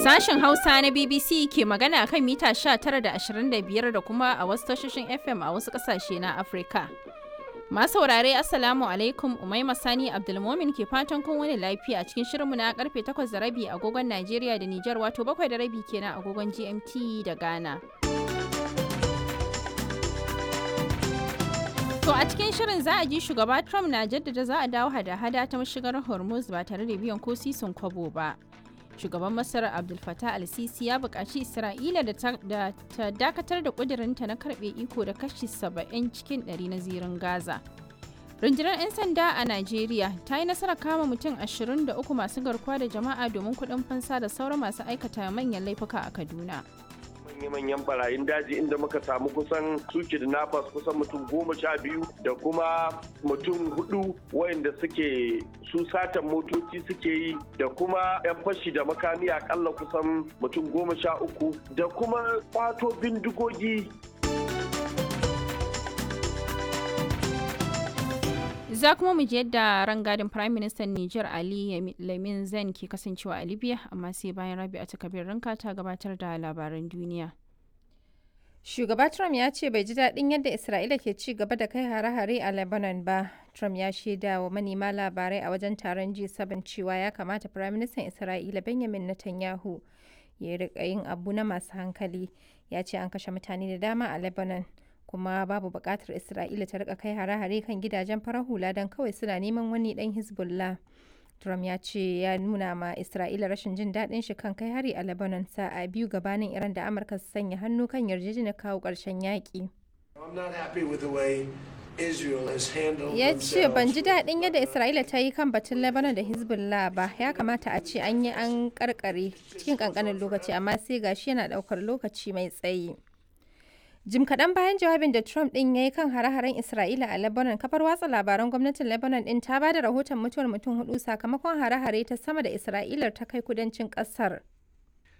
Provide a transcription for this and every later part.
Sashen Hausa na BBC ke magana kan mita 19 da 25 da kuma a wasu tashoshin FM a wasu ƙasashe na Afirka. Masu saurare, Assalamu alaikum, Umaima Sani Abdulmomin ke fatan kun wani lafiya a cikin shirinmu na karfe 8:30 agogon Najeriya da Nijar, wato 7:30 kenan agogon GMT da Ghana. To a cikin shirin za a ji shugaba Trump na jaddada za a dawo hada-hada ta mashigar Hormuz ba tare da biyan ko sisin kwabo ba. Shugaban Masar Abdul Fattah al-Sisi ya buƙaci Isra'ila da ta dakatar da ƙudurinta na karɓe iko da kashi 70 cikin 100 na zirin Gaza. Rundunar 'yan sanda a Najeriya ta yi nasarar kama mutum 23 masu garkuwa da jama'a domin kuɗin fansa da sauran masu aikata manyan laifuka a Kaduna. Manya-manyan barayin daji inda muka samu kusan su kidnappers kusan mutum 12 da kuma mutum hudu wayanda suke su satan motoci suke yi, da kuma 'yan fashi da makami akalla kusan mutum 13, da kuma kwato bindigogi. Za kuma mu ji yadda rangadin Prime Minister Niger Ali Lamin Zen ke kasancewa a Libya, amma sai bayan Rabi'a ta Kabir Ranka ta gabatar da labaran duniya. Shugaba Trump ya ce bai ji daɗin yadda Isra'ila ke ci gaba da kai hare-hare a Lebanon ba. Trump ya shaida wa manema labarai a wajen taron G7 cewa ya kamata Firaministan Isra'ila Benjamin Netanyahu ya riƙa yin abu na masu hankali. Ya ce an kashe mutane da dama a Lebanon, kuma babu buƙatar Isra'ila ta rika kai hare-hare kan gidajen farar hula don kawai suna neman wani ɗan Hezbollah. Trump ya ce ya nuna ma Isra'ila rashin jin daɗin shi kan kai hari a Lebanon sa'a biyu gabanin Iran da Amurka su sanya hannu kan yarjejeniyar kawo ƙarshen yaƙi. Ya ce ban ji daɗin yadda Isra'ila ta yi kan batun Lebanon da Hezbollah ba, ya kamata a ce an yi an karkare cikin ƙanƙanin lokaci, amma sai gashi yana ɗaukar lokaci mai tsayi. Jim kaɗan bayan jawabin da Trump ɗin ya yi kan hare-haren Isra'ila a Lebanon, kafar watsa labaran gwamnatin Lebanon ɗin ta ba da rahoton mutuwar mutum hudu sakamakon hare-hare ta sama da Isra'ilar ta kai kudancin ƙasar.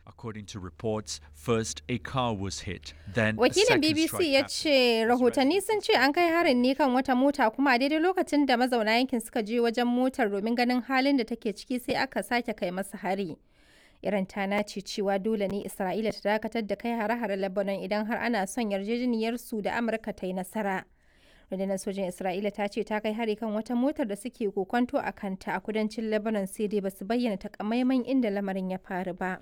According to reports, first a car was hit, then a Wakilin second BBC strike ya happened. ce rahotanni sun ce an kai harin ne kan wata mota, kuma a daidai lokacin da mazauna yankin suka je wajen motar domin ganin halin da take ciki sai aka sake kai masa hari. Iran ta nace cewa dole ne Isra'ila ta dakatar da kai hare-hare Lebanon idan har ana son yarjejeniyar su da Amurka ta yi nasara. Rundunar sojin Isra'ila ta ce ta kai hari kan wata motar da suke kokonto a kanta a kudancin Lebanon, sai dai basu bayyana takamaiman inda lamarin ya faru ba.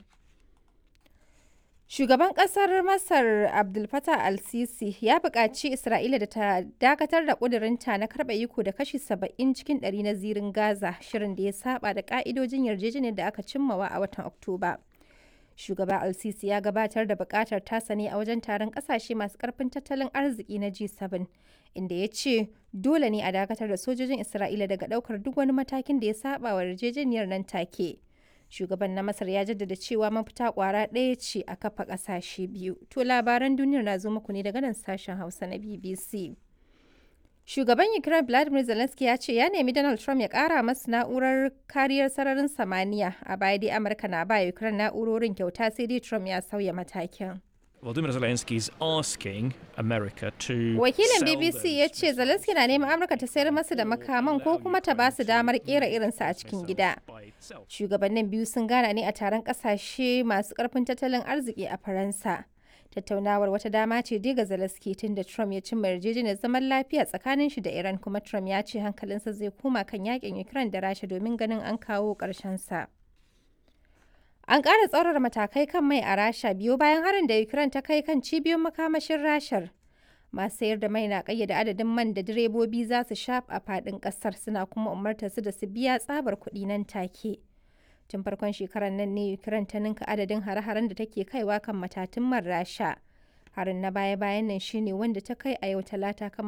Shugaban kasar Masar Abdul Fattah al-Sisi ya buƙaci Isra'ila da ta dakatar da ƙudurinta na karɓa iko da kashi 70 cikin 100 na zirin Gaza, shirin da ya saba da ƙa'idojin yarjejeniyar da aka cimmawa a watan Oktoba. Shugaba al-Sisi ya gabatar da buƙatar tasa ne a wajen taron ƙasashe masu ƙarfin tattalin arziki na G7, inda ya ce dole ne a dakatar da sojojin Isra'ila daga ɗaukar duk wani matakin da ya saba wa yarjejeniyar nan take. Shugaban na Masar ya jaddada cewa mafita kwara ɗaya ce a kafa ƙasashe biyu. To labaran duniyar na zo muku ne daga nan sashen Hausa na BBC. Shugaban Ukraine Vladimir Zelensky ya ce ya nemi Donald Trump ya ƙara masu na'urar kariyar sararin samaniya. A baya dai Amurka na ba Ukraine na'urorin kyauta, sai dai Trump ya sauya matakin. Volodymyr Zelensky is asking America to Wakilin sell BBC those ya ce Zelensky na neman Amurka ta sayar masa da makaman ko kuma ta ba su damar kera irinsa a cikin gida. by itself. Shugabannin biyu sun gana ne a taron kasashe masu karfin tattalin arziki a Faransa. Tattaunawar wata dama ce dai ga Zelensky tun da Trump ya cimma yarjejeniyar zaman lafiya tsakanin shi da Iran, kuma Trump ya ce hankalinsa zai koma kan yakin Ukraine da Rasha domin ganin an kawo ƙarshen sa. An ƙara tsaurara matakai kan mai a Rasha biyo bayan harin da Ukraine ta kai kan cibiyoyin makamashin Rashar. Masu sayar da mai na ƙayyade adadin man da direbobi za su sha a faɗin ƙasar, suna kuma umartar su da su biya tsabar kuɗi nan take. Tun farkon shekarar nan ne Ukraine ta ninka adadin hare-haren da take kaiwa kan matatun man Rasha. Harin na baya-bayan nan shine wanda ta kai a yau Talata kan